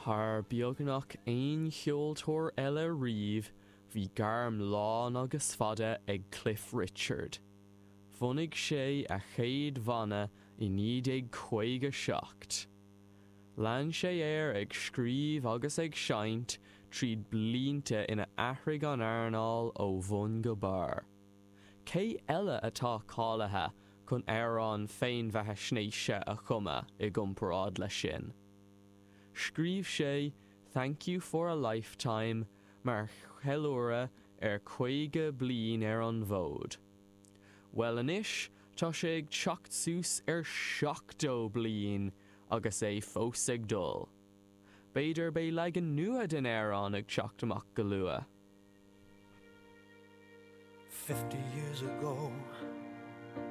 Thar beagnach aon cheoltóir eile riamh, bhí gairm lán agus fada ag Cliff Richard. Bhunaigh sé a chéad bhanna i 1957. Lean sé air ag scríobh agus ag seinnt tríd blianta ina athraigh an earnáil ó bhun go barr. Cé eile atá cáilithe chun amhrán féinbheathaisnéise a chumadh i gcomparáid leis sin? Scríobh sé 'Thank You For A Lifetime' mar cheiliúradh ar 50 bliain ar an bhfód. Bhuel anois tá sé ag teacht suas ar 70 bliain agus é fós ag dul. B'fhéidir beidh leagan nua den amhrán ag teacht amach go luath. 50 years ago.